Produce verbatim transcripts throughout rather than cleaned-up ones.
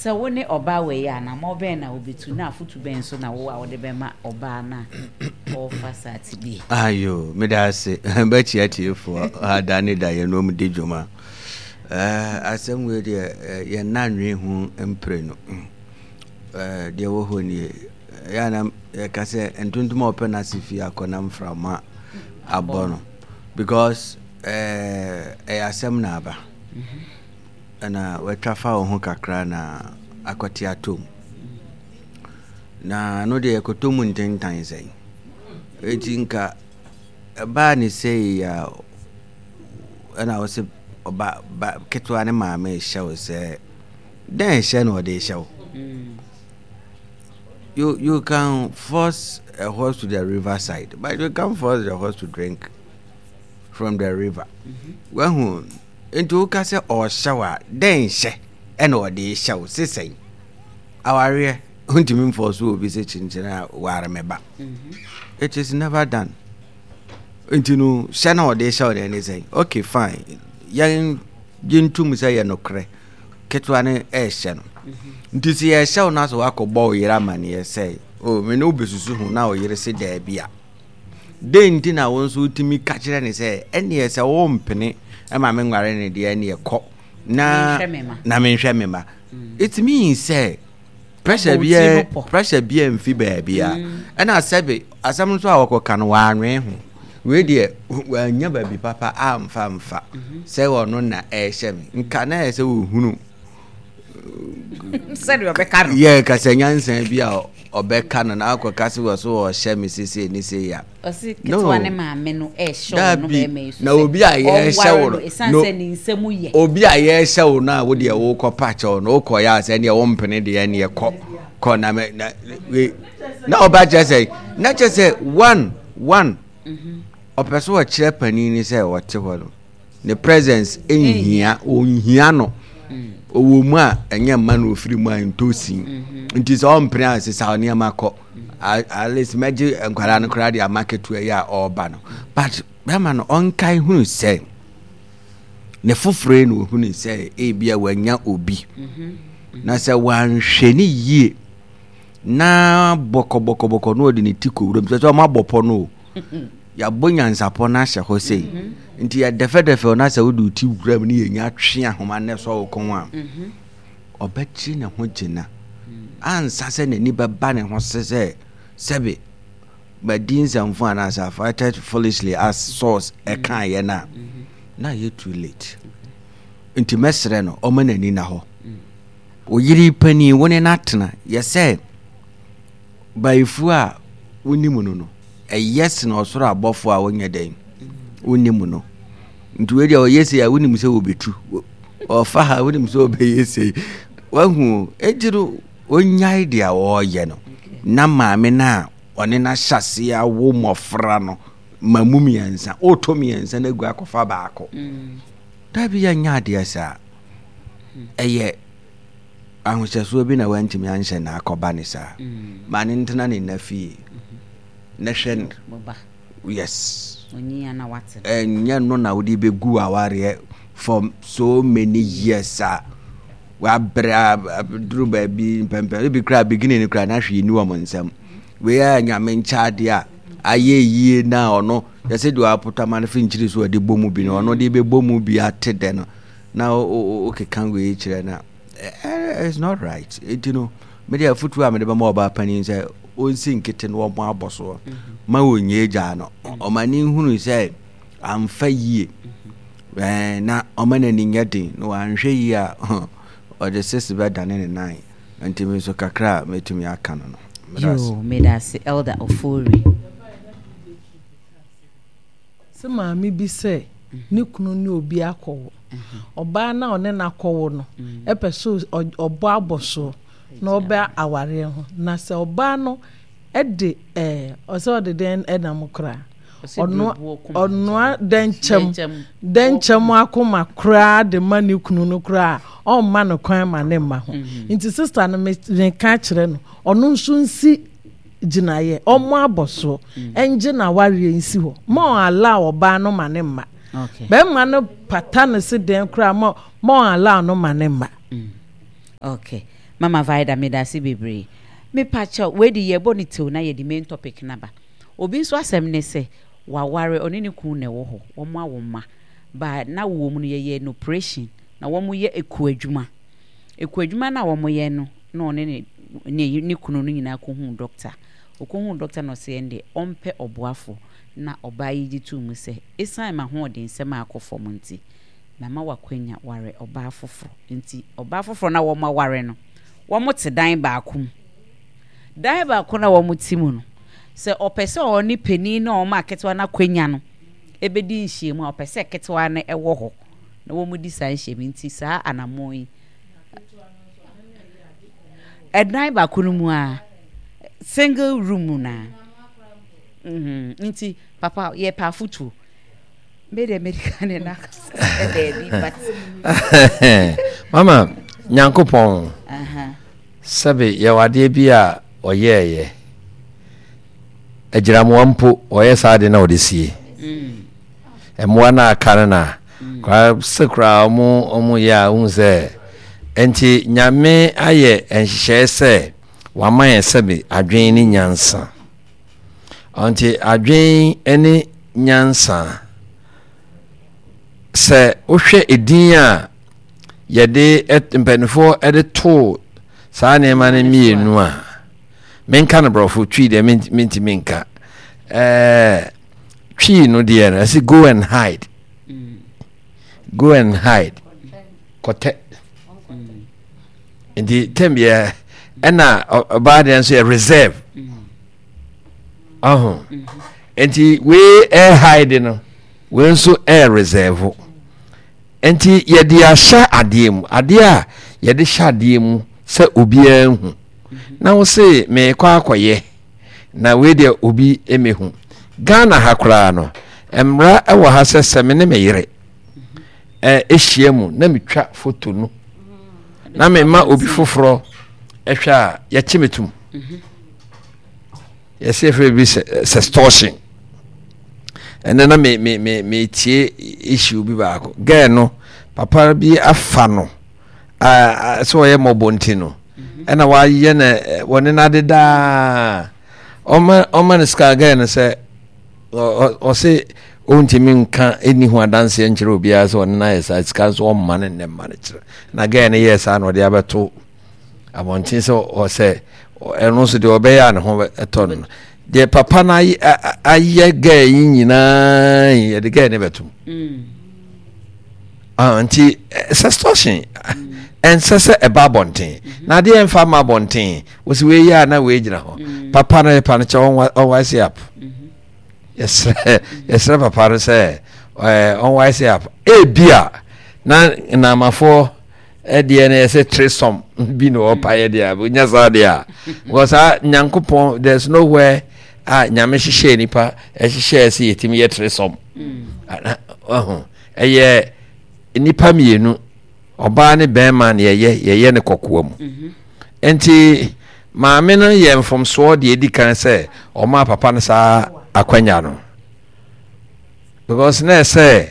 Sɛ wo ne ɔbaa wei a, anammɔn bɛn na wobɛtu, na afotu bɛn nso na wo a wode bɛma ɔbaa no a ɔrefa saa tebea yi? Ayo, meda ase. Bɛkyia tiefoɔ ada ne da yɛn nom di dwuma. Eh, asɛm wei deɛ eh, yɛn nna nwe ho mprenu. Eh, deɛ wɔ hɔ nie. Yɛ ana yɛka sɛ ntontom a ɔpɛ n'ase fie akɔ na mframa abɔ no. Because eh, ɛyɛ asɛm na aba. Mm -hmm. Na watwa fa wo ho kakra na akɔte atɔ mu. Na no deɛ ɛkɔtɔ mu ntentan sɛn. Eti nka ɛbaa ne sei a ɛna wo sɛ ɔba ba ketewa ne maame rehyɛ wo sɛ dɛn hyɛ na ɔde rehyɛ wo. You you can force a horse to the riverside, but you can't force the horse to drink from the river. Wahu. Enti woka sɛ ɔrehyɛ wo a, dɛn hyɛ ɛna ɔde rehyɛ wo? Se sɛn? Awareɛ, wontumi mfɔɔso obi sɛ kyenkyene a ware me ba. Mhm. It is never done. Nti no, hyɛ na ɔde rehyɛ wo deɛ ne sɛn? Okay, fine. Yɛn gye ntom sɛ yɛ nokorɛ. Ketewa no ɛrehyɛ no. Mhm. Nti sɛ yɛrehyɛ wo no asɛ woakɔbɔ wo yere amanneɛ sɛ, oh, me ne wo bɛsusu ho na wo yere se daabi a. Dɛn nti na wo nso wotumi ka kyerɛ no sɛ, ɛnneɛ sɛ wompene ma menware no deɛ ɛnneɛ kɔ na na menhwɛ me mma? Mm. It means sɛ pressure biara pressure biara mfi baabi a mm. Ɛna sɛbe asɛm nso a wɔkɔka no wɔanwene ho wei deɛ wɔanya baabi papa amfa mfa mm-hmm. sɛ ɔno na ɛrehyɛ me nka na ɛyɛ sɛ wɔhunu sɛdeɛ ɔbɛka no yɛ kasa nyansa bi a ɔbɛka no na akɔka sɛ wɔ so ɔhyɛ me sesei ne sei a. Ɔse ketewa ne maame no ɛhyɛ ɔno bɛrima yi so na obi a yɛhyɛ wo no ɛsiane sɛ ne nsɛm yɛ obi a yɛhyɛ wo no a wo deɛ wokɔ pa kyɛw no wokɔ yɛ a sɛ neɛ wompene deɛ neɛ kɔ kɔ na me na we na ɔba kyerɛ sɛ na kyerɛ sɛ one one mhm. ɔpɛ so ɔkyerɛ panin ni sɛ ɔte hɔ no ne presence nhia ɔnhia no ɔwɔ mu a ɛnyɛ mma na ɔfiri mu a ntɔ sin mhm. nti sɛ ɔmpene a sesa nneɛma kɔ at least mɛgye nkwadaa no koraa de ama ketewa yi a ɔreba no but bɛrima no ɔnkae hunu sɛ ne foforɔ yi na ɔhunu sɛ ebia wanya obi mhm. na sɛ wanhwɛ ne yie na bɔkɔbɔkɔbɔkɔ na ɔde ne ti kɔ wuram sɛ sɛ ɔma bɔpɔ no o Yɛabɔ nyansapɔ no ahyɛ hɔ sei. Mhm. Nti yɛdɛfɛdɛfɛ no sɛ wode wo ti wura mu ne yɛnya twe ahoma no sɔ wo kɔn a, mhm. ɔbɛkye ne ho gyina. Mm. Ansa sɛ n'ani bɛba ne ho se sɛ sɛbe madi nsɛmfo anaasɛ I acted foolishly as source ɛkaeɛ no a, mhm. na yɛ too late. Nti mɛsrɛ no ɔma n'ani na hɔ. Mm. Oyere panin wo ne no atena yɛ sɛ Bayifoɔ a wonim no no, ɛyɛ sene ɔsoro abɔfoɔ a wonyɛ dɛn wonim no. Nti wei deɛ ɔyɛ sei a wonim sɛ wɔbɛtu, ɔfa ha wonim sɛ ɔbɛyɛ sei. Wahu enti no ɔnyae deɛ ɔreyɛ no na maame no a ɔne no ahyɛ aseɛ awo mmɔfra no ma mu mmiɛnsa, ɔretɔ mmiɛnsa no agu akɔfa baako. Mm. Dabi yɛnyɛ adeɛ saa. Ɛyɛ ahohyɛsoɔ bi na wantumi anhyɛ na akɔba ne saa. Mm. Ma ne ntena ne nna fie. Mm-hmm. Na hwɛ no. Yes. Ɛnyɛ no na wode bɛgu awareɛ for so many years a wabrɛ duru baabi mpɛmpɛ ebi koraa beginning no koraa na hwee ni wɔn nsam. Wei a nyame nkyɛ adeɛ a ayɛ yie na ɔno yɛsɛ deɛ wapotama no fi nkyiri so ɔde bɔ mu bi no ɔno de bɛbɔ mu bi ate dɛ no na wokeka wei kyerɛ no a it's not right. Nti no mede afotuo a mede bɛma ɔbaa panin sɛ ɔnsi nkete no ɔmo abɔ soɔ mhm. ma ɔnyɛ gyaa no ɔma ne nhunu sɛ amfa yie mhm. na ɔma n'ani nyɛ den na wanhwɛ yie a ɔde sese bɛdane ne nan. Nti me nso kakra a mɛtumi aka no no. Yoo, meda ase Elder Ofori. Se maame bi sɛ ne kunu ne obi akɔwo. Ɔbaa no a ɔne no akɔwo no pɛ sɛ ɔbɔ abɔsoɔ na ɔba awareɛ ho. Na sɛ ɔbaa no de ɛɛ ɔsɛ ɔde dɛn nam koraa? Ɔnoa ɔnoa dɛnkyɛm dɛnkyɛm akoma koraa de ma ne kunu no koraa a ɔmma no kwan ma ne mma ho. Nti sista no meka kyerɛ no ɔno nso nsi gyinaeɛ, ɔmmɔ abɔsoɔ, ɛngye n'awareɛ nsi hɔ. Ma ɔn allow ɔbaa no ma ne mma. Bɛrima no pata no se dɛn koraa ma ma ɔn allow no ma ne mma. Okay, Mama Vida, medase bebree. Mepakyɛw, wei de yɛbɔ ne tew na yɛde main topic naba. Obi nso asɛm ne sɛ waware, ɔne ne kun na ɛwɔ hɔ, wɔn awo mma ba na wɔ mu no yɛyɛ no operation na wɔn yɛ eku adwuma. Eku adwuma na wɔn yɛ no na ɔne ne ne ne kunu no nyinaa kɔhu doctor. Ɔkɔhu doctor na ɔsɛ ɛn de ɔmpɛ ɔboafo, na ɔbaa yi gye tuu mu sɛ esan ma hoɔden nsɛm a akɔ fam nti mama wakwanya ware ɔbaa foforɔ. Nti ɔbaa foforɔ na wɔn aware no, wɔn te dan baako mu. Dan baako na wɔn te mu no, sɛ ɔpɛ sɛ ɔne panin na wɔn aketewa no akwanya no ebedi nhyiamu a, ɔpɛ sɛ ketewa no ɛwɔ hɔ na wɔn di saa nhyiamu. Nti saa anammɔn yi, ɛdan baako no mu a, single room na mhm nti papa yɛpɛ afotuo. Me de medical ne na daabi, but Mama, Nyankopɔn sɛbe yɛwɔ adeɛ bi a ɔyɛɛyɛ agyiramoa mpo, ɔyɛ saa de na ɔde sie mmoa no aka no na koraa sɛ koraa ɔmo ɔmo yɛ a wohu sɛ nti Nyame ayɛ nhyehyɛe sɛ wama yɛn sɛbe adwen ne nyansa. Nti adwen ne nyansa, sɛ wohwɛ edin a yɛde mpanimfoɔ de too saa nneɛma no mmienu a, menka no borɔfo, Twi deɛ mentumi nka. ɛɛ twi no deɛ no, ɛsɛ go and hide, go and hide, kɔtɛ. Nti tɛm yɛ ɛna ɔbaa deɛ nso yɛ reserve ɔho. Nti wei ɛ hide no, wei nso ɛ reserve. Nti yɛde ahyɛ adeɛ mu, adeɛ a yɛde hyɛ adeɛ mu sɛ obiara hu na wo se meekɔ akɔyɛ na wei deɛ obi mmehu. Ghana ha koraa no, mmara wɔ ha sɛ sɛ me ne me yere ɛhyia mu na metwa foto no na mema obi foforɔ ɛhwɛ a, yɛkye me tom. Yɛsɛ yɛfrɛ bi sɛ sextortion. Ɛnɛ na me me me metie issue bi baako, girl no papa bi afa no sɛ ɔyɛ mmɔbɔ nti no ɛna wayɛ no wɔne no ade daa, ɔma ɔma no sika. Girl no sɛ ɔse ɔntumi nka ɛni ho adanseɛ nkyerɛ obiara sɛ ɔne no ayɛ saa, sika nso ɔmma no nnɛ mma no kyerɛ. Na girl no yɛɛ saa na ɔde abɛto abɔnten sɛ ɔsɛ ɛno nso deɛ ɔbɛyɛ a ne ho ɛtɔ no no deɛ papa no ayɛ girl yi nyinaa, yɛde girl no bɛtom. Ah, nti sextortion ɛnsɛ sɛ ɛba abɔnten na adeɛ ɛmfa ma abɔnten. Wɔsi wei yɛ a na wei gyina hɔ. Papa no yɛpa no kyɛ, ɔnwise up. Yɛsrɛ yɛsrɛ papa no sɛ ɛɛ ɔnwise up. Ebi a na nnamafoɔ ɛdeɛ no yɛsɛ threesome bi na ɔpa yɛ deɛ a onya saa deɛ a, because saa Nyankopɔn, there is nowhere a Nyame hyehyɛ nipa ɛhyehyɛ sɛ yɛtumi yɛ threesome. Ɔho ɛyɛ nipa mmienu, ɔbaa ne bɛrima, na yɛyɛ yɛyɛ ne kɔkoa mu. Nti maame no yɛ mfomsoɔ deɛ edi kan sɛ ɔmaa papa no saa akwanya no, because na ɛsɛ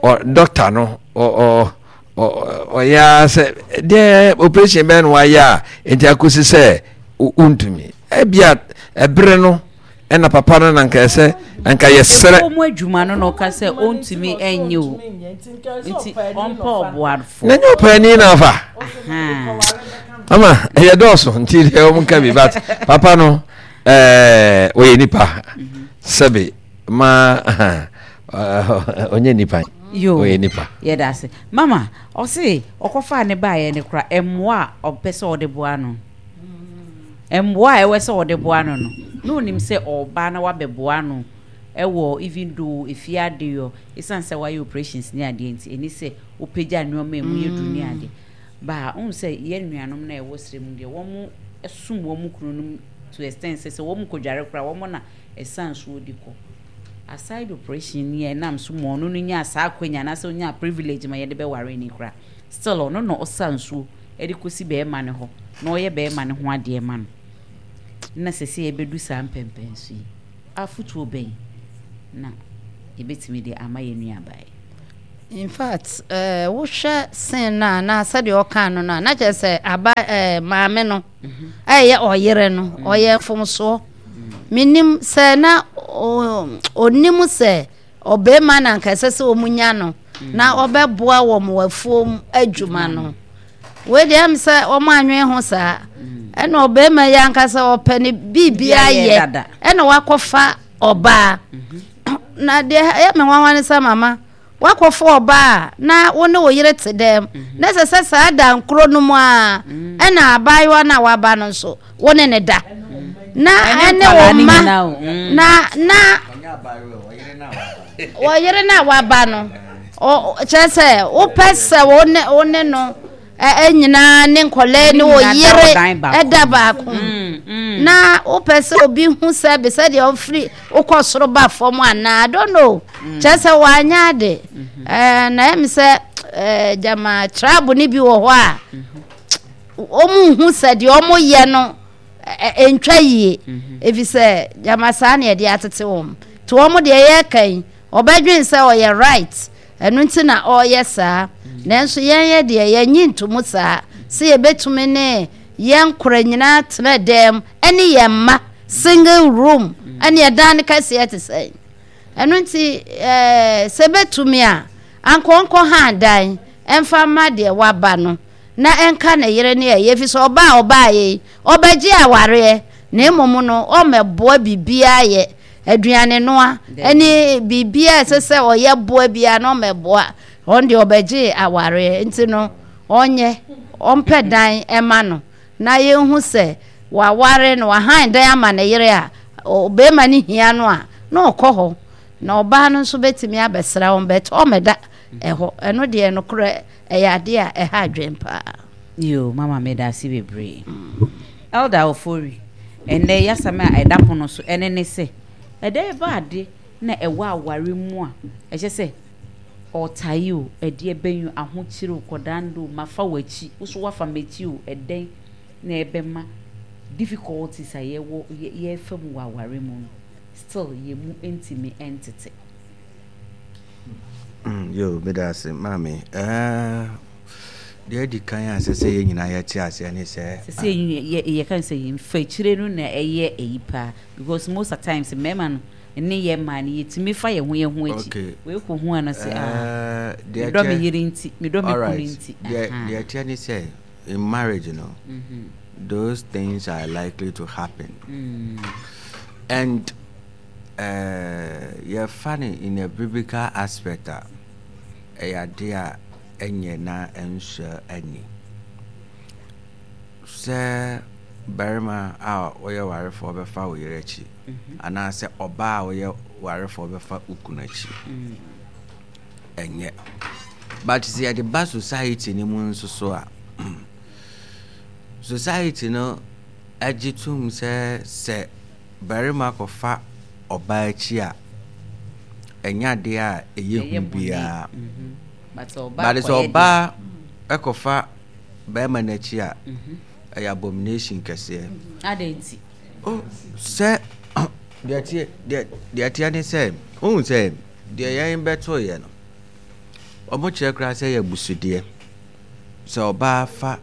ɔ doctor no ɔ ɔ ɔyɛ ara sɛ deɛ operation bɛn no wayɛ a nti akosi sɛ wontumi ebia ɛbere no ɛna papa no na nka ɛsɛ nka yɛsrɛ. Ɛfɔ mu adwuma no na ɔka sɛ ɔntumi ɛnyɛ o, nti ɔmpɛ ɔboafo. Na nyɛ ɔpaani na afa ama ɛyɛ dɔɔso nti deɛ ɔmo nka bi, but papa no ɛɛ ɔyɛ nipa sɛbi ma ɔnyɛ nipa. Yo, ɔyɛ nipa. Yɛda ase, mama. Ɔse ɔkɔfaa ne baeɛ ne kora mmoa a ɔpɛ sɛ ɔde boa no, mmoa a ɛwɔ sɛ ɔde boa no no na onim sɛ ɔba na wabɛboa no ɛwɔ, even though efie adeyɔ, esan sɛ wayɛ operations ne adeɛ nti ɛni sɛ wopagya nneɛma emu yɛ duru ne adeɛ baa ohun sɛ yɛn nuanom na ɛwɔ srɛ mu deɛ, wɔn som wɔn kununom to extent sɛ sɛ wɔn kɔdware koraa, wɔn na ɛsan nsuo de kɔ. Aside operation ni a ɛnam so ma ɔno no nyaa saa akwanya anaasɛ ɔnyaa privilege ma yɛde bɛware ne koraa, still ɔno na ɔsa nsuo ɛde kɔsi bɛrima no hɔ na ɔyɛ bɛrima no ho adeɛ ma no. Na sɛ sɛ yɛbɛdu saa mpɛmpɛnso yi, afotuo bɛn na yɛbɛtumi de ama yɛn nuabaa yi? In fact, eh, wohwɛ sen no a na sɛdeɛ ɔka no no a na kyerɛ sɛ aba eh, maame no ɛyɛ ɔyere no ɔyɛ mfomsoɔ. Menim sɛ na ɔnim sɛ ɔbɛrima na anka ɛsɛ sɛ wɔn nya no na ɔbɛboa wɔn wɔ afuom adwuma no. Wei deɛ ɛm sɛ wɔn anwen ho saa. Ɛna ɔbɛrima yi ankasa ɔpɛ ne biribi ayɛ ɛna wakɔfa ɔbaa. Na deɛ ɛyɛ me nwanwa ne sɛ mama wakɔfa ɔbaa a na wo ne wo yere te dɛm mhm. Na ɛsɛ sɛ saa da nkoro no mu a mhm. Ɛna abaayewa no a waba no nso wo ne ne da mhm. Na ɛne wo mma na na wɔyere no a waba no kyerɛ sɛ wopɛ sɛ wo ne wo ne no nyinaa ne nkɔlaa ne wo yere ɛda baako mm, mm. Na wopɛ sɛ obi hu sɛ bi sɛdeɛ ɔfiri wokɔ soro ba fam anaa, I don't know mm. Kyerɛ sɛ wanyɛ ade mm-hmm. ɛɛ na ɛmi sɛ ɛɛ gyama tribe ne bi wɔ hɔ a mm-hmm. wɔn hu sɛ deɛ wɔn yɛ no ɛntwa yie mm-hmm. Efi sɛ gyama saa na yɛde atete wɔn te wɔn deɛ yɛreka yi ɔbɛdwen sɛ ɔyɛ right, ɛno nti na ɔreyɛ saa. Nanso yɛn yɛ deɛ yɛnyi ntomu saa sɛ yɛbɛtumi ne yɛn nkora nyinaa tena dɛm ɛne yɛn mma single room ɛne ɛdan no kɛseɛ te sɛn. Ɛno nti ɛɛ sɛ bɛtumi a anka ɔnkɔ han dan ɛmfa mma deɛ waba no na ɛnka ne yere ne ɛyɛ fi sɛ ɔbaa a ɔbaa yɛ yi ɔbɛgye awareɛ na mmom no ɔmmɛboa biribiara yɛ aduane noa ɛne biribiara ɛsɛ sɛ ɔyɛ boa biara na ɔmmɛboa. Ɔno deɛ ɔbɛgye awareɛ nti no ɔnyɛ ɔmpɛ dan ɛma no na yɛnhu sɛ waware no wahan dan ama ne yere a ɔbɛrima no hia no a na ɔkɔ hɔ na ɔbaa no nso bɛtumi abɛsra wɔn bɛtɛ ɔmmɛda ɛhɔ. Ɛno deɛ nokorɛ ɛyɛ adeɛ a ɛha adwen paa. Yo, mama meda ase bebree. Elder Ofori, ɛnnɛ yasɛm a ɛda pono so ɛne ne sɛ ɛdɛ ɛba ade na ɛwɔ aware mu a ɛkyɛ sɛ ɔtae o, ɛdeɛ bɛn o, ahokyere o, kɔdando o, mafa w'akyi, wo so wafa m'akyi o, ɛdɛn na ɛbɛma difficulties a yɛwɔ yɛfa mu wɔ aware mu no still yɛn mu ntumi ntete? Mm, yo, meda ase, maame. Eh, deɛ adi kan a ɛsɛ sɛ yɛn nyinaa yɛte aseɛ ne sɛ sɛ sɛ yɛka sɛ yɛmfa akyire no na ɛyɛ ɛyi paa because most of times mmarima no ne yɛ mmaa no yɛtumi fa yɛn ho yɛn ho akyi. Wei kɔ hu ano sɛ ah, medɔ me yere nti, medɔ me kunu nti. Deɛ deɛ ɛteɛ ne sɛ in marriage no mm -hmm. those things are likely to happen mm. And uh, yɛfa no in a biblical aspect a ɛyɛ adeɛ a ɛnyɛ na ɛnsɔ ani sɛ barima a ɔyɛ warefoɔ bɛfa wo yere akyi mhm. anaasɛ ɔbaa a ɔyɛ warefoɔ bɛfa wo kunu akyi mm. Ɛnyɛ, but sɛ yɛde ba society no mu nso so a, society no agye tom sɛ sɛ barima kɔfa ɔbaa akyi a ɛnyɛ adeɛ a ɛyɛ hu biara mhm. But sɛ ɔbaa ɛkɔfa barima no akyi a mhm. ɛyɛ abomination kɛseɛ. Oh, sɛ deɛ teɛ deɛ teɛ ne sɛ wohu sɛ deɛ yɛn bɛtoeɛ no wɔn kyerɛ koraa sɛ yɛ abusudeɛ sɛ ɔbaa fa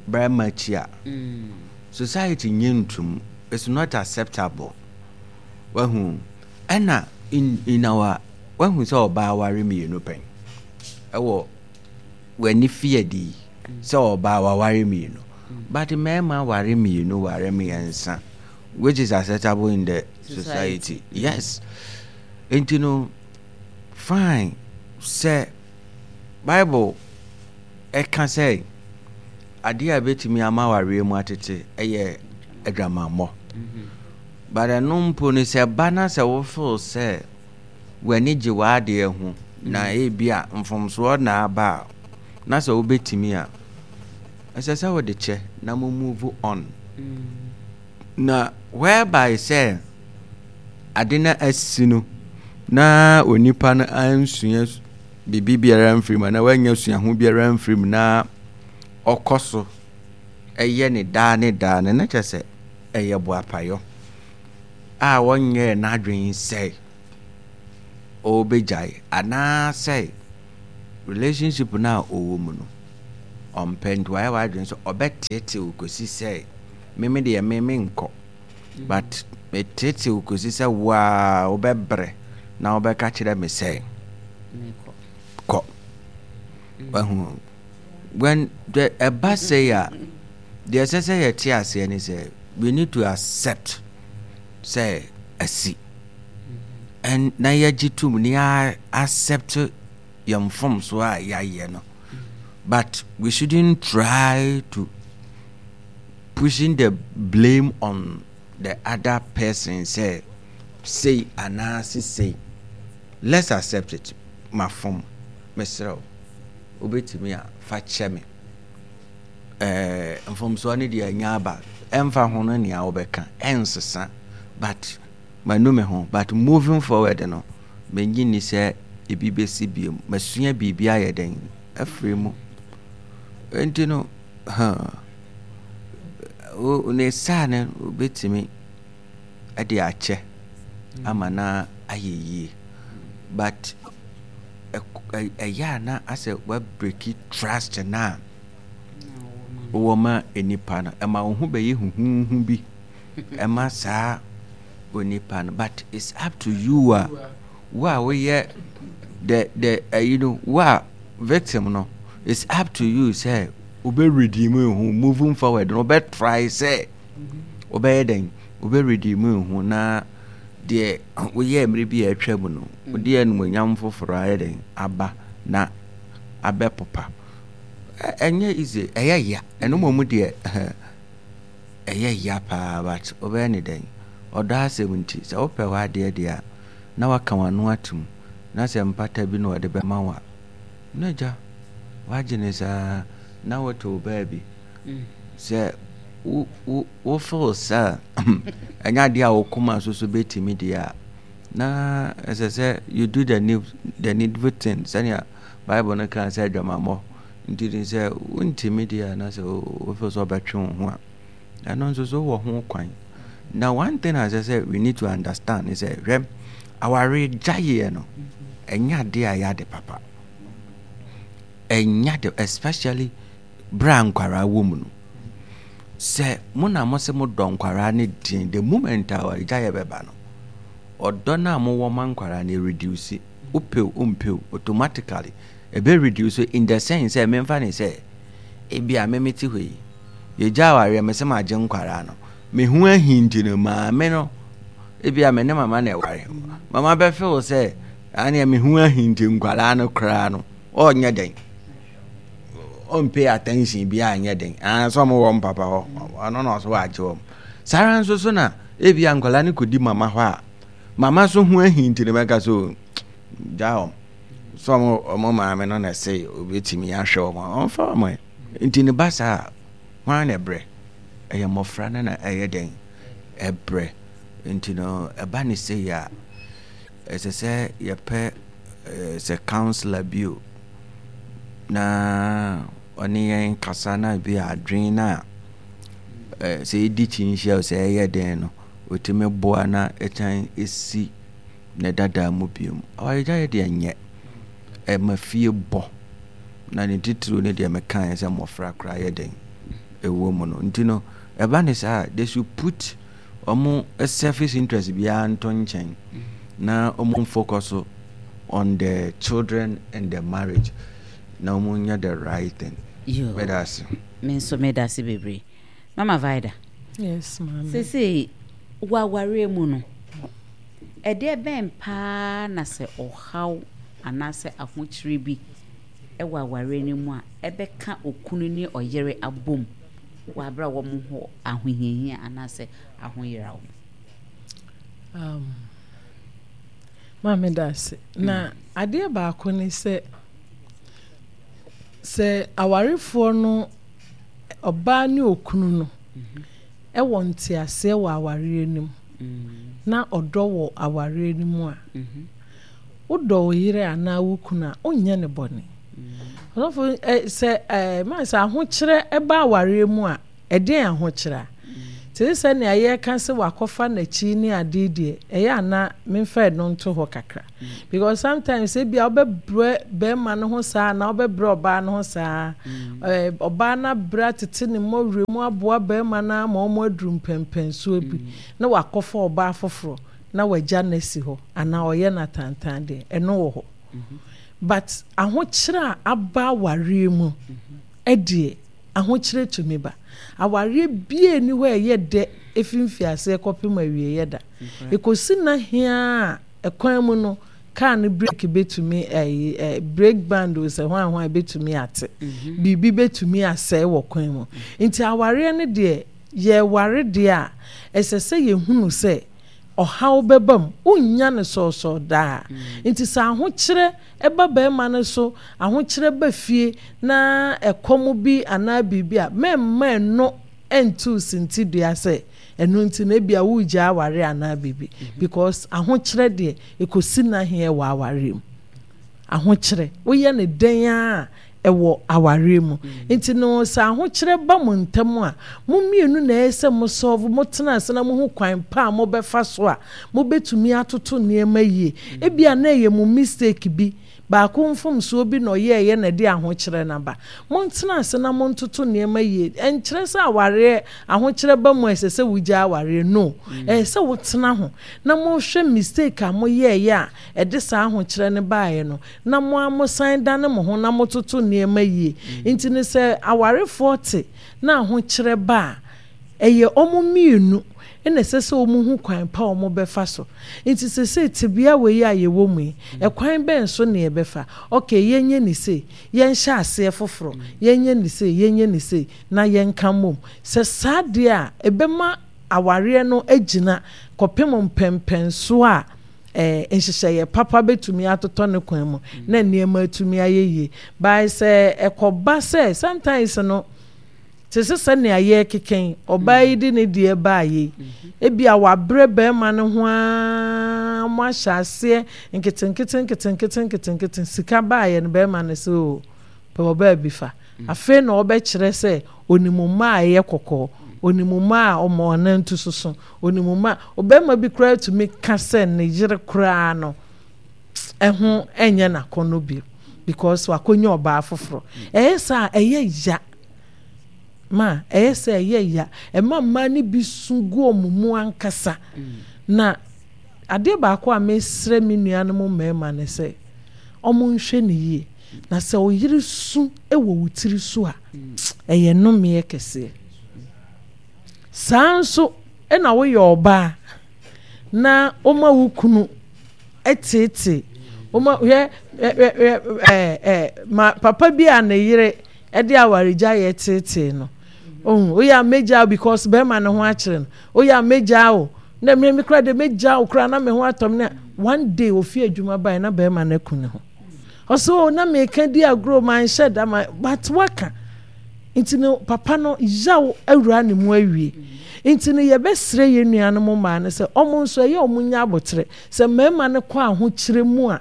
barima akyi a mm. society nye ntum, it's not acceptable. Wahu ɛna in in our wahu sɛ ɔbaa ware mmienu pɛn ɛwɔ w'ani fi adi sɛ ɔbaa waware mmienu, but mmarima ware mmienu, ware mmiɛnsa, which is acceptable in the society, yes. Nti no fine sɛ Bible ɛka sɛ adeɛ a ɛbɛtumi ama awareɛ mu atete ɛyɛ adwamammɔ, but ɛno mpo no sɛ ba na sɛ wofeel sɛ w'ani gye w'adeɛ ho na ebi a mfomsoɔ na aba a na sɛ wobɛtumi a ɛsɛ sɛ wode kyɛ na mo move on na whereby sɛ ade no asi no na onipa no ansua biribi biara mfiri mu anaa wanya suaho biara mfiri mu na ɔkɔ so ɛyɛ ne daa ne daa no na kyerɛ sɛ ɛyɛ boapayɔ a wɔnyɛɛ n'adwene sɛ ɔrebɛgyae anaasɛ Relationship no a ɔwɔ mu no, ɔmpɛ nti wayɛ w'adwene sɛ ɔbɛteetee wo kɔsi sɛ me me deɛ me menkɔ but meteetee wo kɔsi sɛ wo ara wobɛbrɛ na wobɛka kyerɛ me sɛ kɔ. Wahu when the ɛba sɛi a deɛ ɛsɛ sɛ yɛte aseɛ ne sɛ we need to accept sɛ asi and na yɛgye tom ne yɛ accept yɛn mfomsoɔ a yɛayɛ no but we shouldn't try to pushing the blame on the other person sɛ sei anaase sei. Let's accept it, mafom, mesrɛ wo, wobɛtumi a fa kyɛ me. Ɛɛ mfomsoɔ no deɛ anya aba, ɛmfa ho no nea wobɛka, ɛnsesa, but manu me ho, but moving forward no, mennye nni sɛ ebi bɛsi biom. Masua biribi ayɛ dɛn afiri mu. Enti no, huh, ne saa no wobɛtumi de akyɛ ama no ayɛ yie. But ɛyɛ a na asɛ woabreki trust no a wowɔ ma nnipa no. Ɛma wo ho bɛyɛ huhuuhu bi ɛma saa onipa no. But it's up to you a wo a woyɛ the the ɛyi no wo a victim no it's up to you sɛ wobɛ redeem wo ho moving forward no wobɛ try sɛ wobɛyɛ dɛn wobɛ redeem wo ho na deɛ woyɛɛ mmerɛ bi a atwa mu no wode animuonyam foforɔ ayɛ dɛn aba na abɛpopa. Ɛnyɛ easy, ɛyɛ ya. Ɛno mmom deɛ ɛyɛ ya paa but wobɛyɛ ne dɛn? Ɔdɔ asɛm nti sɛ wopɛ w'adeɛ deɛ a na waka w'ano atom na sɛ mpata bi na ɔde bɛma wo a na agya wagye ne saa na wote wo baabi. Sɛ wo wo wo feel sɛ ɛnyɛ adeɛ a wo koma so so bɛtumi deɛ a na ɛsɛ sɛ you do the need the needful thing sɛnea Bible no kaa sɛ adwamammɔ nti ne sɛ wontumi deɛ a na sɛ wo feel sɛ ɔbɛtwe wo ho a ɛno nso so wɔ ho kwan. Na one thing a ɛsɛ sɛ we need to understand ne sɛ hwɛ aware gyaeɛ no ɛnyɛ adeɛ a ɛyɛ ade papa, ɛnyɛ ade especially berɛ a nkwaraa wɔ mu no. Sɛ mo na mo se mo dɔ nkwaraa no den, the moment a awaregyaeɛ bɛba no, ɔdɔ no a mowɔ ma nkwaraa no reduce. Wopɛ o, wompɛ o, automatically ɛbɛ reduce in the sense sɛ memfa ne sɛ ebi a me mete hɔ yi, yɛgya awareɛ me se magye nkwaraa no, me ho ahi nti no maame no, ebi a me ne mama na ɛware, mama bɛfeel sɛ aneɛ me ho ahi nti nkwaraa no koraa no ɔnyɛ dɛn ɔmpay attention bi anyɛ den ah sɛ ɔmo wɔ mpapa hɔ ɔno na ɔso wagye wɔn saa ara nso so na ebi a nkwadaa no kɔdi mama hɔ a mama so ho ahi nti no bɛka so gya wɔn sɛ ɔmo ɔmo maame no na ɛsɛ obetumi ahwɛ wɔn ɔmfa wɔn nti ne ba saa hwan na ɛbrɛ ɛyɛ mmɔfra no na ɛyɛ dɛn ɛbrɛ nti no ɛba ne sɛ yɛ a ɛsɛ sɛ yɛpɛ sɛ councillor bi o na ɔne yɛn kasa na bi a adwene no a sɛ ɛdi kyinhyia o sɛ ɛyɛ den no ɔtumi boa na ɛkyan ɛsi ne dadaa mu biom. Awaregyaeɛ deɛ nyɛ ɛma fie bɔ na ne titiriw ne deɛ mekaeɛ sɛ mmɔfra koraa yɛ den ɛwɔ mu no nti no ɛba ne saa they should put wɔn selfish interest biara nto nkyɛn na wɔn focus on the children and the marriage na wɔn nyɛ the right thing. Meda ase. Me nso meda ase bebree. Mama Vida. Yes, maame. Sese wɔ awareɛ mu no, ɛdeɛ bɛn paa na sɛ ɔhaw anaasɛ ahokyere bi wɔ awareɛ no mu a ɛbɛka okunu ne ɔyere abom wɔ abere a wɔn ho ahohiahia anaasɛ ahoyeraw mu? Um, maame da ase. Na mm. adeɛ baako ne sɛ sɛ awarefoɔ no ɔbaa ne okunu no mhm. ɛwɔ nteaseɛ wɔ awareɛ no mu mm. na ɔdɔ wɔ awareɛ no mu a mhm. wodɔ wo yere anaa wo kunu a wonyɛ ne bɔne. Mm. Ɔsɔfo sɛ ɛɛ maa sɛ ahokyerɛ ɛba awareɛ mu a ɛdeɛn ahokyerɛ a Te sɛ nea yɛreka sɛ wakɔfa n'akyi ne ade deɛ, ɛyɛ a na memfa ɛno nto hɔ kakra. Because sometimes ebia wobɛbrɛ bɛrima no ho saa anaa wobɛbrɛ ɔbaa no ho saa. Ɛɛ ɔbaa no abrɛ atete ne mmɔwerɛ mu aboa bɛrima no ama wɔn aduru mpɛnpɛnsoɔ bi na wakɔfa ɔbaa foforɔ na wagya no asi hɔ anaa ɔyɛ no atantan deɛ, ɛno wɔ hɔ. But ahokyerɛ a aba awareɛ mu deɛ, ahokyerɛ tumi ba. Awareɛ biara nni hɔ a ɛyɛ dɛ ɛfiri mfiaseɛ kɔpem awieeɛ da. Ɛkɔsi nna heaa a, ɛkwan mu no, kaa no brake bɛtumi ɛyi ɛ brake band o sɛ hwan hwan bɛtumi ate. Biribi bɛtumi asɛe wɔ kwan mu. Nti awareɛ no deɛ, yɛreware deɛ a, ɛsɛ sɛ yɛhunu sɛ ɔhaw bɛba mu. Wonnya no sɔɔsɔɔ daa. Nti sɛ ahokyerɛ ba barima no so, ahokyerɛ ba fie na ɛkɔm bi anaa biribi a, mɛmma ɛno nto wo sintidua sɛ ɛno nti no ebia woregyae awareɛ anaa biribi. Because ahokyerɛ deɛ, ɛkɔsi nnaheɛ wɔ awareɛ mu. Ahokyerɛ, woyɛ no dɛn ara a, ɛwɔ awareɛ mu. Nti no sɛ ahokyerɛ ba mo ntam a, mo mmienu na ɛyɛ sɛ mo solve, mo tena ase na mohu kwan pa a mobɛfa so a mobɛtumi atoto nneɛma yie. Ebia na ɛyɛ mo mistake bi, baako mfomsoɔ bi na ɔyɛeɛ na ɛde ahokyerɛ no aba. Montena ase na montoto nneɛma yie. Ɛnkyerɛ sɛ awareɛ, ahokyerɛ ba mu a ɛsɛ sɛ wogyae awareɛ, no. Ɛyɛ sɛ wotena ho na mohwɛ mistake a moyɛeɛ a ɛde saa ahokyerɛ no baeɛ no, na mo ara mosan dane mo ho na mototo nneɛma yie. Nti no sɛ awarefoɔ te na ahokyerɛ ba a, ɛyɛ wɔn mmienu na ɛsɛ sɛ wɔhu kwan pa a wɔbɛfa so. Nti seesei tebea wei a yɛwɔ mu yi, ɛkwan bɛn so na yɛbɛfa? Okay, yɛnyɛ no sei, yɛnhyɛ aseɛ foforɔ, yɛnyɛ no sei, yɛnyɛ no sei, na yɛnka mmom. Sɛ saa deɛ a, ɛbɛma awareɛ no agyina kɔpem mpɛnpɛnsoɔ a nhyehyɛeɛ papa bɛtumi atotɔ ne kwan mu na nneɛma atumi ayɛ yie. By sɛ ɛkɔba sɛ sometimes no te sɛ sɛnea yɛrekeka yi, ɔbaa yi de ne deɛ baeɛ yi, ebia wabrɛ barima no ho ara mo ahyɛ aseɛ nketenkete nketenkete nketenkete, sika baeɛ no barima no sɛ oo pɛ ɔbaa bi fa. Afei na ɔbɛkyerɛ sɛ onim mmaa a ɛyɛ kɔkɔɔ, onim mmaa a wɔn anantu soso, onim mmaa. Ɔbarima bi koraa tumi ka sɛ ne yere koraa no ɛho nyɛ n'akɔnnɔ bio because wakɔnya ɔbaa foforɔ. Ɛyɛ saa a ɛyɛ ya ma ɛyɛ sɛ ɛyɛ ya. Ɛma mmaa no bi su gu wɔn mu ankasa. Na adeɛ baako a mesrɛ me nuanom mmarima ne sɛ wɔnhwɛ no yie. Na sɛ wo yere su wɔ wo tiri so a, ɛyɛ nnomeɛ kɛseɛ. Saa nso na woyɛ ɔbaa na woma wo kunu teetee, woma hwɛ hwɛ hwɛ ɛɛ ɛɛ ma papa bi a ne yere de awaregyaeɛ teetee no. Ohun woyɛ a mɛgyaa because bɛrima no ho akyerɛ no. Woyɛ a mɛgyaa wo na mmea mi koraa de mɛgyaa wo koraa na me ho atɔ me na one day ofi adwuma bae na bɛrima no aku ne ho. Ɔsɛ o na meka di agorɔ manhyɛ da ma but waka nti no papa no yaw awura ne mu awie nti no yɛbɛsrɛ yɛn nuanom mmaa no sɛ ɔmo nso ɛyɛ ɔmo nya abotere sɛ mmarima no kɔ ahokyerɛ mu a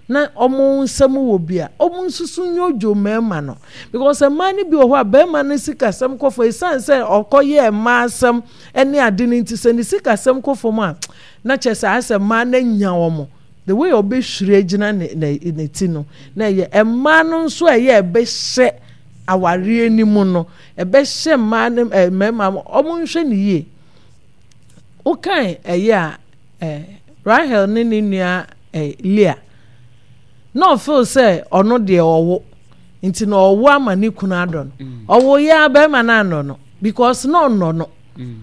na ɔmo nsɛm wɔ bi a ɔmo nso so nyodwo mmarima no because mmaa no bi wɔ hɔ a barima no sikasɛm kɔ fam esiane sɛ ɔkɔyɛɛ mmaa asɛm ne ade no nti sɛ ne sikasɛm kɔ fam a na kyerɛ sɛ ayɛ sɛ mmaa no anya wɔn. The way ɔbɛhwiri agyina ne ne ne ti no na ɛyɛ mmaa no nso a ɛyɛ ɛbɛhyɛ awareɛ no mu no ɛbɛhyɛ mmaa no ɛɛ mmarima no wɔn nhwɛ no yie. Wokan ɛyɛ a ɛɛ Rahel ne ne nua ɛɛ Leah na ɔfeel sɛ ɔno deɛ ɔwo nti na ɔwo ama ne kunu adɔ no mm. ɔwo yɛ a bɛrima no anɔ no because na ɔnɔ no. Mm.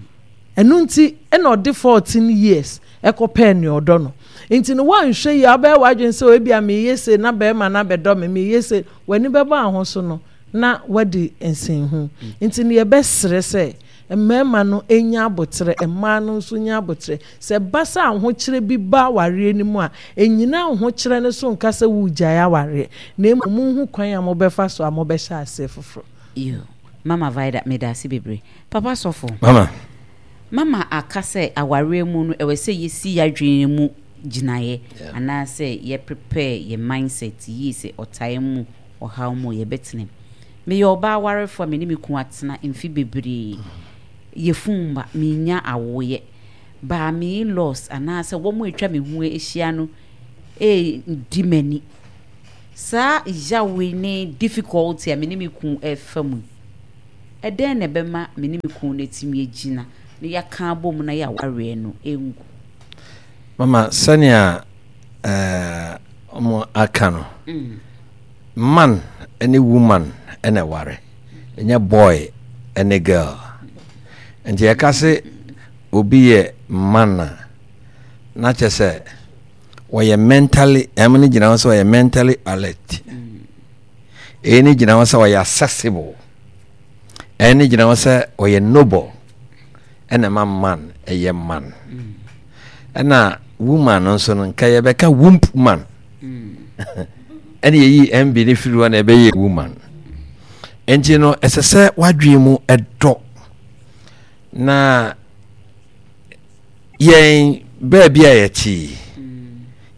Ɛno nti na ɔde fourteen years kɔpɛɛ nea ɔdɔ no. Nti no woanhwɛ yie a wobɛyɛ w'adwene sɛ ebia mereyɛ sei na barima no abɛdɔ me, mereyɛ sei, w'ani bɛbɔ ahoso no na woadi nsɛnhu. Nti no yɛbɛsrɛ sɛ mmarima no nya aboterɛ, mmaa no nso nya aboterɛ. Sɛ ɛba sɛ ahokyerɛ bi ba awareɛ no mu a, nnyina ahokyerɛ no so nka sɛ woregyae awareɛ, na mmom monhu kwan a mobɛfa so a mobɛhyɛ aseɛ foforɔ. Yoo mama Vida medase bebree. Papa sɔfo. Mama. Mama aka sɛ awareɛ mu no ɛwɔ sɛ yɛsi yadwene mu gyinaeɛ anaasɛ yɛ prepare yɛ mindset yie sɛ ɔtaa mu ɔhaw mu yɛbɛtena mu. Meyɛ ɔbaa warefoɔ a me ne me kunu atena mfe bebree. Yafunu mma, mennya awoeɛ. But me in-laws anaasɛ wɔn a atwa me ho ahyia no redi m'ani. Saa yaw yi ne difficulty a me ne me kunu refa mu yi, ɛdɛn na ɛbɛma me ne me kunu no atumi agyina na yɛaka abom na yɛawareɛ no ngu? Mama, sɛnea ɛɛ wɔn aka no, mm. man ne woman na ɛware, ɛnyɛ boy ne girl. Nti yɛka se obi yɛ man a, na kyerɛ sɛ wɔyɛ mentally, ɛm no gyina hɔ sɛ ɔyɛ mentally alert. Ɛyi no gyina hɔ sɛ ɔyɛ accessible. Ɛyi no gyina hɔ sɛ ɔyɛ noble. Ɛna ɛma man ɛyɛ man. Ɛna woman no nso no nka yɛbɛka womb man. Ɛna yɛyi M B no firi hɔ na ɛbɛyɛ woman. Nti no ɛsɛ sɛ wadwene mu ɛdɔ na yɛn baabi a yɛte yi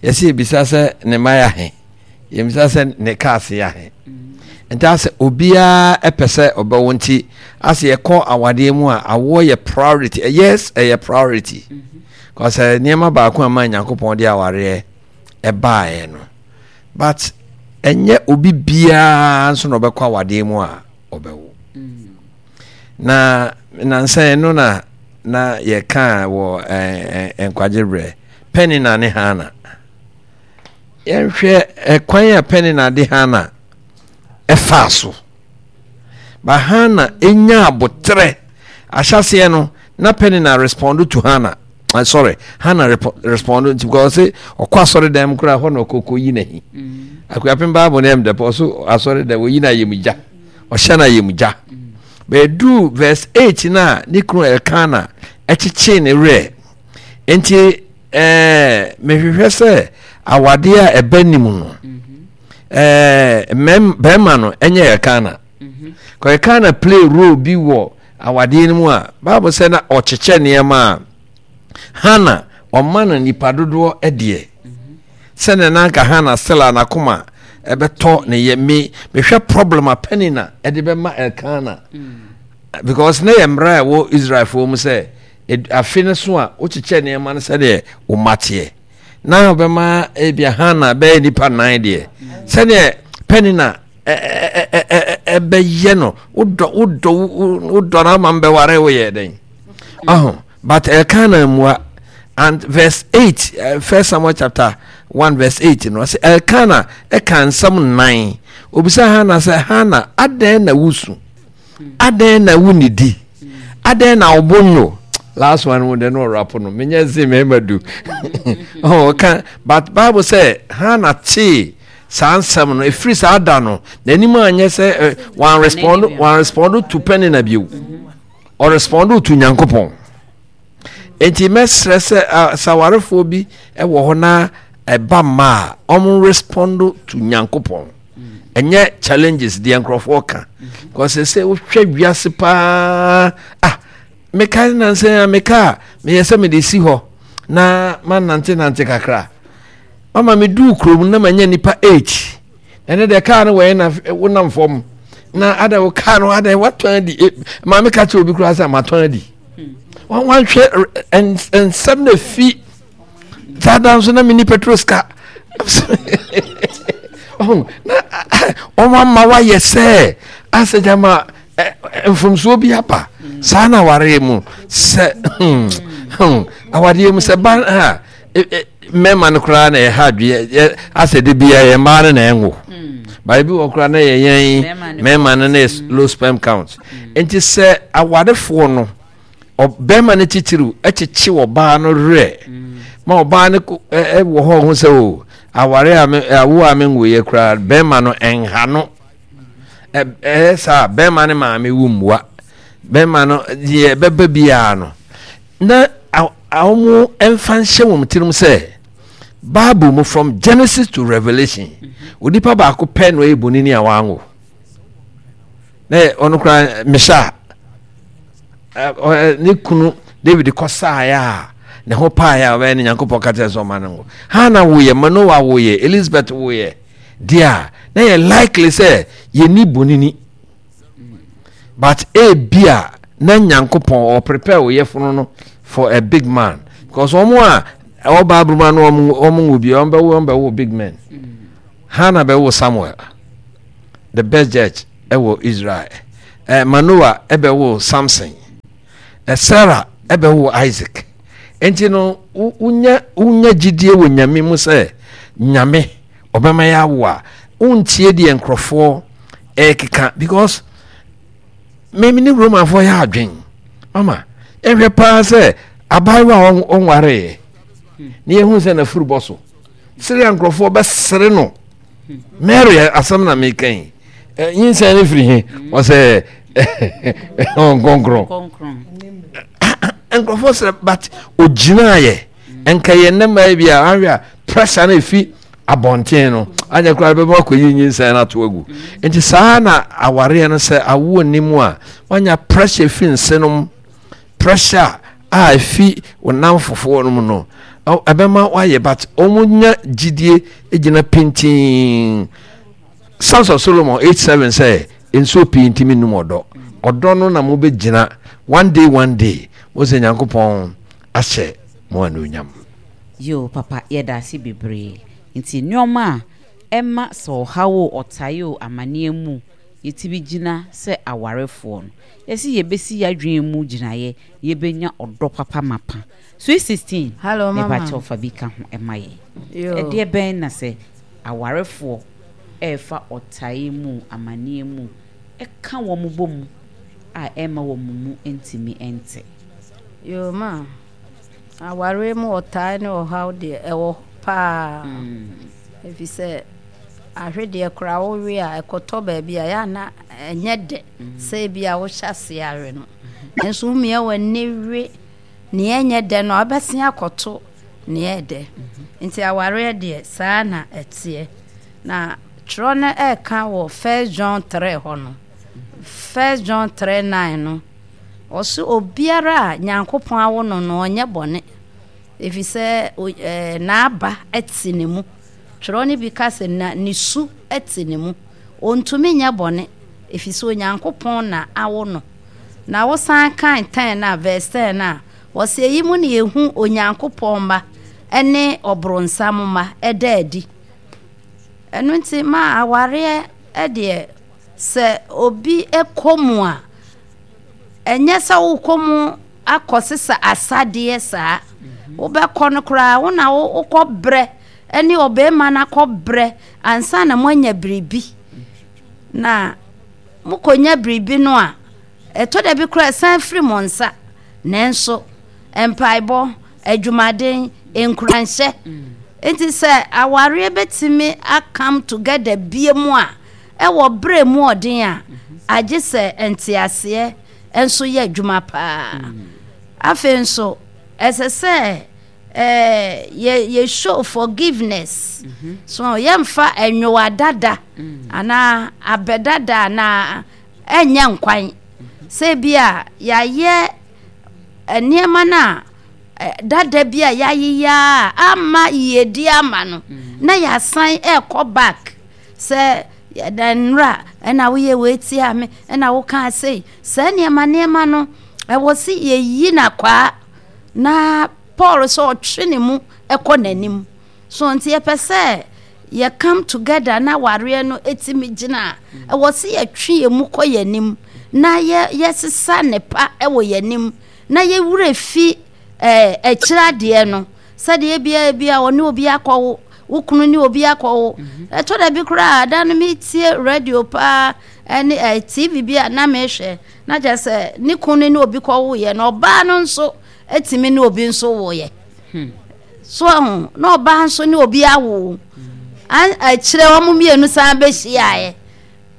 yɛsɛ yɛbisa sɛ ne mma yɛ ahe, yɛbisa sɛ ne cars yɛ ahe. Nti asɛ obiara ɛpɛ sɛ ɔbɛwo, nti asɛ yɛkɔ awadeɛ mu a awoɔ yɛ priority. Yes, ɛyɛ priority kɔsɛ nneɛma baako a ma Nyankopɔn de awareɛ ɛbaeɛ no, but ɛnyɛ obi biara nso na ɔbɛkɔ awadeɛ mu a ɔbɛwo. Na nansa yi no na na yɛka wɔ nkwagye berɛ Penina ne Hana. Yɛnhwɛ ɛkwan a Penina de Hana ɛfaa so. Ba Hana enya aboterɛ. Ahyɛseɛ no na Penina respond to Hana. Uh, sorry, Hana respond nti because ɔse ɔkɔ asɔre dan mu koraa hɔ na ɔkɔkɔ yi n'ahi. Mm. Akuapem Bible no ɛm dɛpɔ ɔso asɔre dan oyi n'ayamgya. Ɔhyɛ no ayamgya. Bɛduu verse eight no a ne kunu Elkana kyekyee ne werɛ. Nti ɛɛ mehwehwɛ sɛ awadeɛ a ɛba nim no ɛɛ mɛm bɛrima no ɛnyɛ Elkana. Kɔ Elkana play role bi wɔ awadeɛ no mu a Bible sɛ na ɔkyekyɛ nneɛma a Hana ɔma no nipa dodoɔ deɛ. Sɛnea na anka Hana still a n'akoma ɛbɛtɔ ne yɛ me mehwɛ problem a Penina ɛde bɛma Elkana because na yɛ mmara a ɛwɔ Israelfoɔ mu sɛ afe no so a wokyekyɛ nneɛma no sɛdeɛ wo mma teɛ na ɔbɛma ebia Hana bɛyɛ nipa nan deɛ sɛdeɛ Penina ɛbɛyɛ no wodɔ wodɔ wodɔ no ama mbɛware woyɛ dɛn ɔho. But Elkanah ammua. And verse eight, eh, First Samuel chapter one verse eight no, ɔsɛ Elkanah ɛka nsɛm nnan. Obisa Hannah sɛ, Hannah, adɛn na wusu? Adɛn na wunidi? Adɛn na ɔbo nyo? Last one wo de no ɔrapo no. Menyɛ nse mmarima du. Oh, ɔka, but Bible sɛ Hannah tee saa nsɛm no, ɛfiri saa da no, n'anim anyɛ sɛ eh, wɔn respond, wɔn respond to Penina bio. Ɔrespɔndo to Nyankopɔn. Enti mɛsrɛ sɛ sɛ awarefoɔ bi wɔ hɔ na ɛba mma a, wɔn respondo to Nyankopɔn. Ɛnyɛ challenges deɛ nkurɔfoɔ ka. Because sɛ wohwɛ wiase paa, ah, meka nansa a meka a meyɛ sɛ mede si hɔ na manante nante kakra. Mama meduu kurom na manya nipa eight. Ɛne deɛ kaa no wɔyɛ na wonam fam na ada wo kaa no ada watɔn adi e, maame ka kyerɛ obi koraa sɛ matɔn adi wanhwɛ nsɛm na fi saa da nso na meni petrol sika na wɔn ama wayɛ sɛ asɛ gyama mfomsoɔ bi aba saa na awareɛ mu sɛ hmm, hmm, awareɛ mu sɛ ba ha mmarima no koraa na ɛha adwene asɛ de bia yɛ mmaa no na ɛnwo hmm. baabi bi wɔ koraa na yɛ yɛn mmarima no na yɛ hmm. low sperm count hmm. nti sɛ awarefoɔ no bɛrima no titiriw kyekye ɔbaa no werɛ ma ɔbaa no wɔ hɔ ho sɛ o aware a me awo a me nwoyɛ koraa bɛrima no ɛnha no ɛyɛ saa bɛrima no maame wo mmua bɛrima no deɛ ɛbɛba biara no na wɔmfa nhyɛ wɔn tirim sɛ Bible mu from Genesis to Revelation mhm. onipa baako pɛ na ɔyɛ bonini a wanwo na ɔno koraa mehyɛ a ne kunu David kɔsaeɛ a ne ho paeɛ a ɔbɛyɛ ne Nyankopɔn ka kyerɛ sɛ ɔma no ngo Hana woyɛ Manoa woyɛ Elizabeth woyɛ deɛ a na yɛ likely sɛ yɛni bonini but ebia Na Nyankopɔn ɔ prepare wo yɛfono no for a big man, because wɔn a ɛwɔ Bible mu ano wɔn wɔn nwo bi, wɔn bɛwo wɔn bɛwo big men. Hannah bɛwo Samuel, the best judge ɛwɔ Israel. Ɛ Manoah ɛbɛwo Samson. Ɛ Sarah ɛbɛwo Isaac. Nti no wonya wonya gyidie wɔ Nyame mu sɛ Nyame ɔbɛma yɛ awo a, wontie deɛ nkurɔfoɔ ɛrekeka, because me ne Romanfoɔ yɛ adwen. Mama yɛhwɛ paa sɛ abaayewa a ɔnwareeɛ na yɛhu sɛ n'afuru bɔ so sere a nkurɔfoɔ bɛsere no. Mary asɛm na meka yi, nyinsɛn no firi he? Ɔsɛ nkɔnkrɔn. Nkurɔfoɔ srɛ, but ogyinaeɛ. Nka yɛn nnɛ mmaa bi a ahwɛ a pressure no efi abɔnten no anyɛ koraa bɛma akɔyi nyinsɛn no ato agu. Nti saa na awareɛ no, sɛ awoɔ nni mu a, wanya pressure fi nsenom, pressure a efi wo nnamfofoɔ no mu no ɛbɛma wayɛ, but wɔn nya gyidie gyina pintinn. Sons of Solomon eight seven sɛ nsuo pii ntumi nnum ɔdɔ. Ɔdɔ no na mobɛgyina one day, one day mo sɛ Nyankopɔn ahyɛ mo anuonyam. Yoo papa yɛdaase bebree. Nti nnoɔma a ɛma sɛ ɔhaw o, ɔtae o, amaneɛ mu yɛtumi gyina sɛ awarefoɔ no, yɛse yɛbɛsi yɛadwene mu gyinaeɛ na yɛbɛnya ɔdɔ papa mapa. Sweet sixteen, Hello mama. Mepakyɛw fa bi ka ho ma yɛn. Yoo. Ɛdeɛ bɛn na sɛ awarefoɔ ɛrefa ɔtae mu, amaneɛ mu, ɛka wɔn bɔ mu a ɛmma wɔn mu ntumi nte? Yoo ma, awareɛ mu ɔtae ne ɔhaw deɛ ɛwɔ hɔ paa. Ɛfiri sɛ ahwedeɛ koraa wowe a, ɛkɔtɔ baabi a, ɛyɛ a na ɛnyɛ dɛ sɛ ebi a wohyɛ aseɛ awe no. Nanso womia w'ani we nea ɛnyɛ dɛ no a, wobɛsen akɔto nea ɛyɛ dɛ. Nti awareɛ deɛ saa na ɛteɛ. Na twerɛ no ɛreka wɔ First John three hɔ no, First John three nine no, ɔse obiara a Nyankopɔn awo no no ɔnyɛ bɔne, ɛfiri sɛ ɛɛ n'aba te ne mu. Twerɛ no bi ka sɛ na ne su te ne mu. Ɔntumi nyɛ bɔne, ɛfiri sɛ Onyankopɔn na awo no. Na wosan kan ten no a, verse ten no a, ɔse eyi mu na yɛhu Onyankopɔn mma ne ɔbronsam mma ɛda adi. Ɛno nti ma awareɛ deɛ sɛ obi kɔ mu a, ɛnyɛ sɛ wokɔ mu akɔsesa asadeɛ saa. Wobɛkɔ no koraa wo na wokɔ brɛ ne ɔbarima no akɔ brɛ ansa na moanya biribi. Na mokɔnya biribi no a, ɛtɔ da bi koraa ɛsan firi mo nsa. Nanso mpaebɔ, adwumaden, nkuranhyɛ. Nti sɛ awareɛ bɛtumi akam together bie mu a, ɛwɔ berɛ mu ɔden a, agye sɛ nteaseɛ nso yɛ adwuma paa. Afei nso, ɛsɛ sɛ eh, yɛ, yɛ show forgiveness. So yɛmfa ɛnwowa dada anaa abɛ dada anaa ɛnyɛ nkwan. Sɛ bi a yɛayɛ nneɛma no a dada bi a yɛayeyɛ a ama yiedie ama no, na yɛasan ɛrekɔ back sɛ na nnora ɛna woyɛ wei tia me ɛna wokaa sei. Saa nneɛma nneɛma no ɛwɔ sɛ yɛyi no akwaa na Paul sɛ ɔtwe ne mu ɛkɔ n'anim. So nti yɛpɛ sɛ yɛ come together na awareɛ no ɛtumi gyina a, ɛwɔ sɛ yɛtwe yɛn mu kɔ yɛn anim na yɛ yɛsesa nnepa ɛwɔ yɛn anim na yɛwerɛ fi ɛɛ akyire adeɛ no, sɛdeɛ ebia ebia ɔne obi akɔwo, wo kunu ne obi akɔwo. Ɛtɔ da bi koraa da no metie radio paa ɛne ɛɛ T V bi a na mehwɛ na kyerɛ sɛ ne kunu ne obi kɔwoeɛ na ɔbaa no nso etumi ne obi nso woeɛ. So ahu na ɔbaa nso ne obi awo, akyerɛ wɔn mmienu san bɛhyiaeɛ.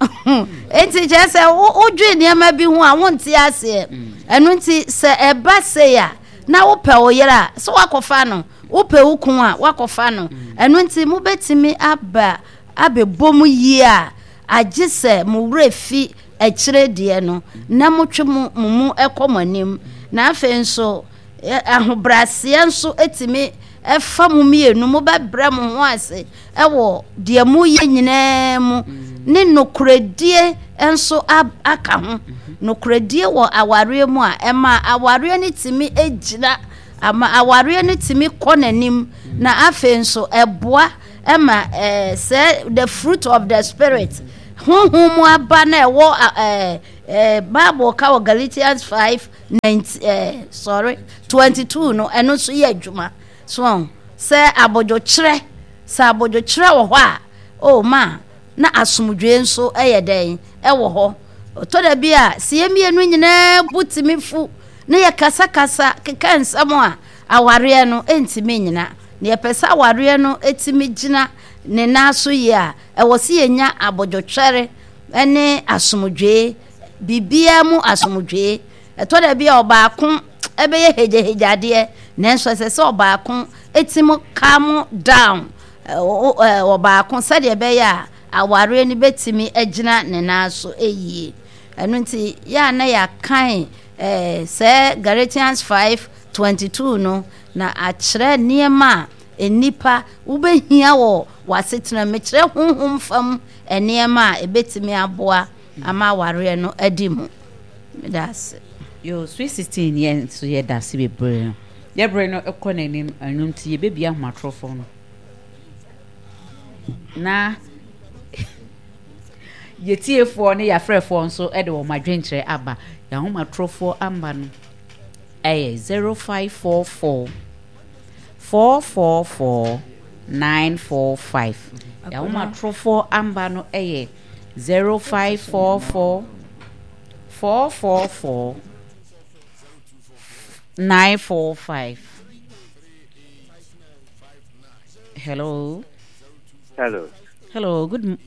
Nti kyerɛ sɛ wodwe nneɛma bi ho a wonte aseɛ. Ɛno nti sɛ ɛba sei a, na wopɛ wo yere a, sɛ woakɔfa no, wopɛ wo kun a, woakɔfa no. Ɛno nti mobɛtumi aba abɛbɔ mu yie a, agye sɛ mo werɛ fi akyire deɛ no na motwe mo mo mu kɔ mo anim. Na afei nso ahobrɛaseɛ nso tumi fa mo mmienu, mobɛbrɛ mo ho ase wɔ deɛ moyɛ nyinaa mu. ne nokoredie nso aka ho. Nokoredie wɔ awareɛ mu a, ɛma awareɛ no tumi gyina, ama awareɛ no tumi kɔ n'anim, na afei nso ɛboa ma ɛɛ sɛ the fruit of the spirit, honhom mu aba na ɛwɔ ɛɛ ɛɛ Bible ka wɔ Galatians five nineteen ɛɛ sorry twenty two no, ɛno nso yɛ adwuma. So sɛ abodwokyerɛ, sɛ abodwokyerɛ wɔ hɔ a, oh ma na asomdwoe nso yɛ dɛn wɔ hɔ. Ɔtɔ da bi a, sɛ yɛn mmienu nyinaa bo tumi fu na yɛkasakasa keka nsɛm a, awareɛ no ntumi nnyina. Na yɛpɛ sɛ awareɛ no tumi gyina ne nan so yie a, ɛwɔ sɛ yɛnya abodwotwɛre ne asomdwoe, biribiara mu asomdwoe. Ɛtɔ da bi a ɔbaako bɛyɛ hegyahegyadeɛ, nanso ɛsɛ sɛ ɔbaako tumi calm down ɔbaako sɛdeɛ ɛbɛyɛ a awareɛ no bɛtumi agyina ne nan so yie. Ɛno nti yɛ a na yɛakan sɛ Galatians five twenty two no na akyerɛ nneɛma a nnipa wobɛhia wɔ w'asetena mu. Mekyerɛ honhom fam nneɛma a ɛbɛtumi aboa ama awareɛ no adi mu. Meda ase. Yo, Sweet sixteen yɛn nso yɛda ase bebree. Yɛbrɛ no kɔ n'anim, ɛno nti yɛbɛbia ahomatorofo no. Na yɛtiefoɔ ne yɛafrɛfoɔ nso de wɔn adwenkyerɛ aba. Yɛn ahomatorofoɔ amba no ɛyɛ zero five four four four four four nine four five. Yɛn ahomatorofoɔ amba no ɛyɛ zero five four four four four four nine four five. Hello. Hello. Hello. Good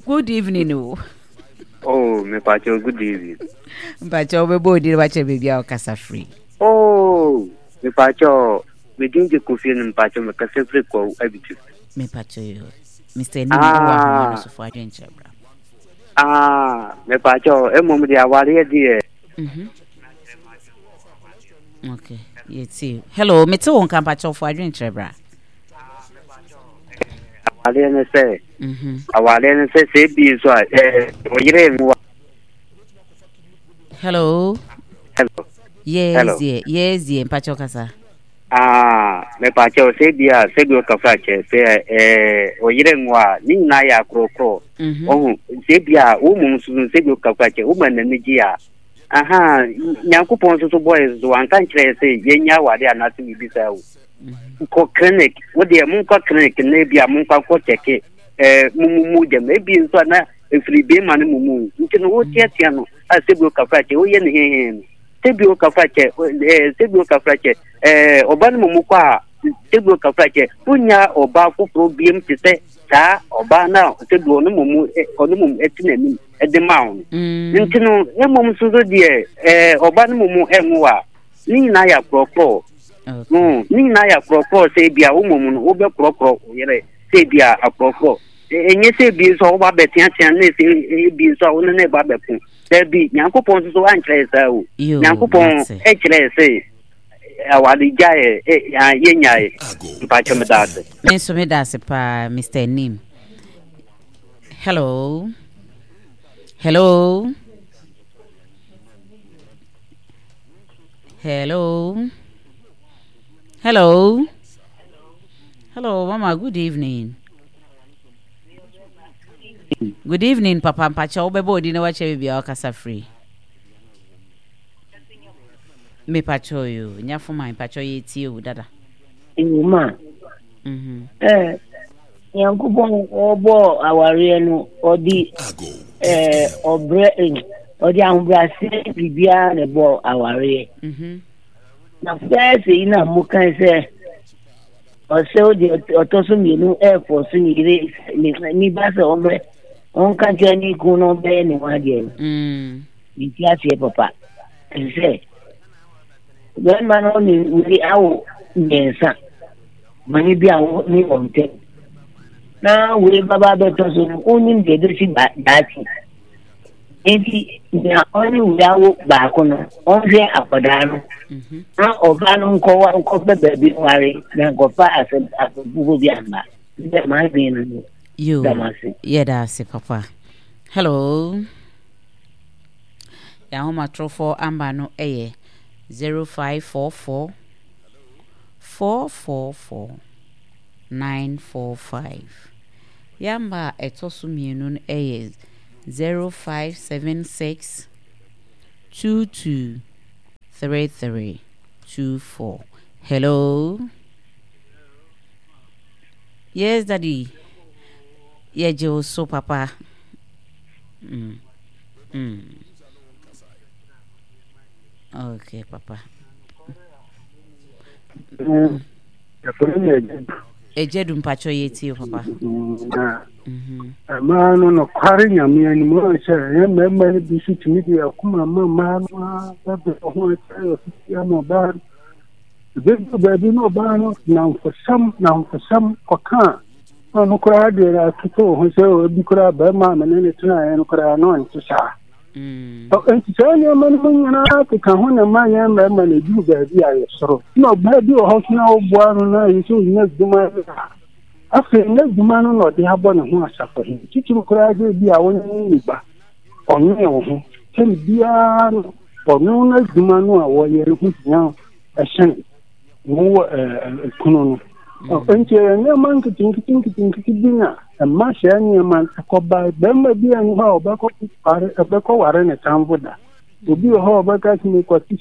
good evening. Oh, oh me pacho, good evening. Mpacho be bo di wache baby a kasa free. Oh, me pacho, me dinje kofi no mpacho me kasa free ko abitu. Me pacho yo. Mister Ni wa ho so fo adwenkyerɛ bra. Ah, me pacho, emom de aware de. Mhm. Okay, yeti. Hello, me te won kan pacho fo adwenkyerɛ bra. Aware ne sɛ. Mhm. Aware ne sɛ sɛ bi so a eh oyere nwa. Hello. Hello. Yes, Hello. dear. Yes, dear. Mpacho kasa. Ah, me pacho sɛ bi a sɛ bi o kafa che sɛ eh oyere nwa ni na ya krokro. Oh, sɛ bi a wo mum so sɛ bi o kafa che wo ma na ni gi a. Aha, Nyankopɔn so so boys so anka nkyerɛ sɛ yɛnya awade anase bibi saa o. Kɔ clinic, wo deɛ monkɔ clinic na bi a monkɔ akɔ kyɛke eh mumu gyam ebi nso na efiri bema no mumu nti no wo teatea no a sɛ bi o kafa che wo yɛ ne hehe no sɛ bi o kafa che eh sɛ bi o kafa che eh ɔba no mumu kɔ a sɛ bi o kafa che wonya ɔba foforo biem te sɛ saa ɔba na sɛ bi ɔno mumu ɔno mumu ɛte n'anim ɛde ma wo nti no emom nso so deɛ eh ɔba no mumu ɛnwo a ne nyinaa yɛ akorɔkorɔ. Mm, ne nyinaa yɛ akorɔkorɔ sɛ bi a wo mom no wobɛkorɔkorɔ wo yere sɛ bi a akorɔkorɔ ɛnyɛ sɛ bi nso a woba bɛteatea ne sɛ bi nso a wo ne ne ba bɛko daabi. Nyankopɔn nso so ankyerɛ saa o. Nyankopɔn ɛkyerɛ sɛ awade gyae yɛnyae. Mpakyɛ meda ase. Me nso meda ase paa Mister Nim. Hello. Hello. Hello. Hello. Hello, Mama. Good evening. Good evening, Papa. Mpacha obebo odi na wache bibi akasa free. Me pacho yo. Nyafuma mpacho ye tie o dada. Ewuma. Mhm. Eh, Nyankopɔn obo aware no odi eh obre odi ahobrase bibia na bo aware. Mhm. Na first yi na mo kan sɛ ɔsɛ odi ɔtɔ so mmienu ɛfɔ so ne yere ne ba sɛ ɔmrɛ ɔnka kyerɛ ne kun no ɔbɛyɛ ne ho adeɛ no. Mm. Ne ti aseɛ papa. Ɛsɛ bɛrima no ne wei awo mmiɛnsa mane bi a wo ne wɔn ntam na wei baba bɛtɔ so no wonim deɛ ɛbɛsi daakye. Nti nea ɔne wei awo baako no ɔnhwɛ akwadaa no na ɔbaa no nkɔwa nkɔpɛ baabi nware na nkɔfa asɛm asɛmfuo bi amba. Sɛ maa dwen no no. Yo, yɛda ase papa. Hello. Yɛn ahomatorofo amba no yɛ zero five four four four four four nine four five. Yɛn amba a ɛtɔ so mmienu no yɛ zero five seven six two two three three two four. Hello. Yes, daddy. Yɛgye wo so papa. Mm. Mm. Okay, papa. Ɛgya du mpakyɛ yɛ tie papa. Mmaa no nokware Nyame anim ɔn sɛ ɛyɛ mmarima no bi so tumi de akoma ma mmaa no a bɛbrɛ ho akyerɛ ɔsisi ama ɔbaa no. Ɛbɛduru baabi na ɔbaa no namfosɛm namfosɛm kɔka a na ɔno koraa deɛ atoto wo ho sɛ ebi koraa barima a mene ne tenaeɛ no koraa na ɔnte saa. Mm. Nti saa nneɛma no mu nyinaa keka ho na ma yɛn mmarima no ɛduru baabi a yɛsoro. Na ɔbaa bi wɔ hɔ so na woboa no na ɛyɛ sɛ ɔnya adwuma a afei n'adwuma no na ɔde abɔ ne ho asafo he. Titiri koraa sɛ bi a wo ne ne ba ɔnwene wo ho tɛm biara no ɔno n'adwuma no a wɔyɛ no ho hia ɛhyɛn wo kunu no. Nti ɛyɛ nneɛma nketenkete nketenkete bi na ɛma saa nneɛma ɛkɔba. Bɛrima bi a ɛni hɔ a ɔbɛkɔ ware ɛbɛkɔ ware ne tamfo da. Obi wɔ hɔ a ɔbɛka sɛ mekɔte